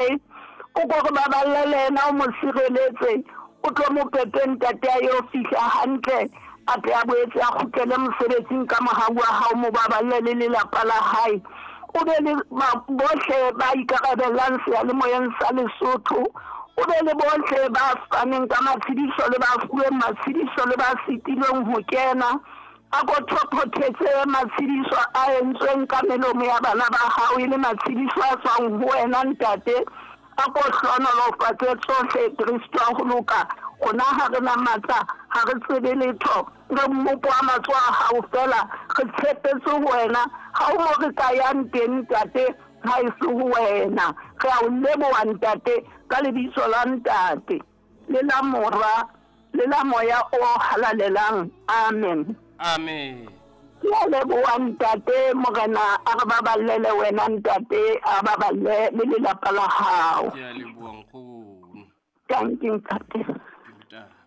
O ko re baballe le yena o mo sireletse, o tlo mo pepe ntate a yo fihla hantle, a tle a boetse a kgutlele mosebetsing ka mohau wa hao, mo baballe le lelapa la hae. O be le bohle ba ikarabellang seyalemoyeng sa Lesotho, o be le bohle ba faneng ka matshediso le ba fuweng matshediso le ba sitilweng ho kena. A ko thophothetse matshediso a entsweng ka melomo ya bana ba hao e le matshediso a tswang ho wena, Ntate. A ko hlohonolofatse tsohle, Kristo wa ho loka. Rona ha re na matla, ha re tsebe letho. Re mmopo wa matsoho a hao feela. Re tshepetse ho wena. Ha ho mo re ka yang teng, Ntate, ha e se ho wena. Re a o leboha, Ntate, ka lebitso la Ntate, le la Mora, le la Moya o Halalelang. Amen. Amen. Ke a leboha ntate, Morena a re baballele wena ntate, a baballe le lelapa la hao. Ke a leboha nkgono. Dankie ntate. Ke o tate.